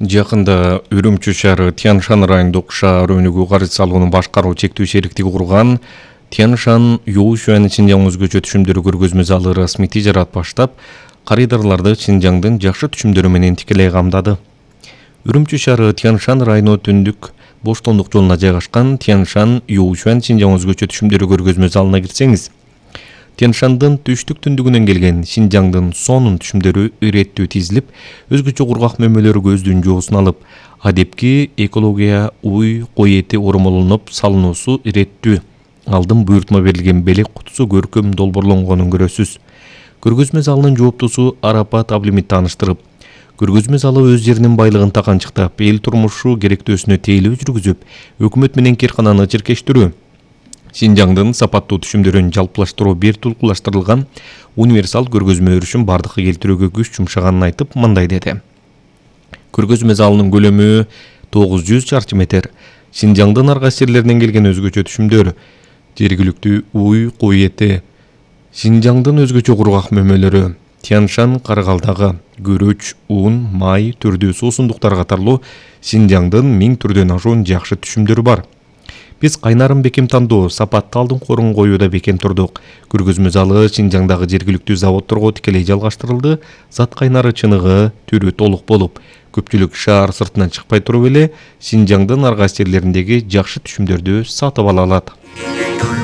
Жакында Үрүмчү шаары Тянь-Шань районундук шаар өнүгүү каржы салууну башкаруу чектүү шериктиги курган Тянь-Шань Юушуан Шинжаң өзгөчө түшүмдөрү көргөзмө залы расмий тижарат баштап, карыдарларды Шинжаңдын жакшы түшүмдөрү менен тикелей камдады. Үрүмчү шаары Тянь-Шань району түндүк Боштондук жолуна жайгашкан Тянь-Шань Юушуан Шинжаң өзгөчө түшүмдөрү көргөзмө залына кирсеңиз, Тянь-Шандын түштүк-түндүгүнөн келген Шинжаңдын сонун түшүмдөрү иреттүү тизилип, өзгөчө кургак мөмөлөрү көздүн жоосун алып, адепки экология уй кой эти оромолонуп салынуусу иреттүү. Алдын буйртма берилген белек кутусу көркөм долбоорлонгонун көрөсүз. Көргөзмө залынын жооптусу Арапат Аблимит тааныштырып, көргөзмө залы өз жеринин байлыгын таканчыктап, эл турмушу керектөөсүнө тейлөө жүргүзүп, өкмөт менен киркананы чиркештирүү, Шинжаңдын сапаттуу түшүмдөрүн жалпылаштыруу бир тулкулаштырылган универсал көргөзмө өрүшүн бардыкка келтирүүгө күч жумшаганын айтып, мындай деди. Көргөзмө залынын көлөмү 900 чарчы метр. Шинжаңдын ар кайсы жерлеринен келген өзгөчө түшүмдөр, жергиликтүү уй кой эти, Шинжаңдын өзгөчө кургак мөмөлөрү, Тянь-Шань каргалдагы күрөч, ун, май, түрдүү суусундуктар катарлуу Шинжаңдын 1000 түрдөн ашуун жакшы түшүмдөрү бар. Биз кайнарын бекем тандоо, сапатты алдын корун коюуда бекем турдук. Көргөзмө залы Шинжаңдагы жергиликтүү заводдорго тикелей жалгаштырылды. Зат кайнары чыныгы, түрү толук болуп, көпчүлүк шаар сыртынан чыкпай туруп эле Шинжаңдын ар кайсы жерлериндеги жакшы түшүмдөрдү сатып ала алат.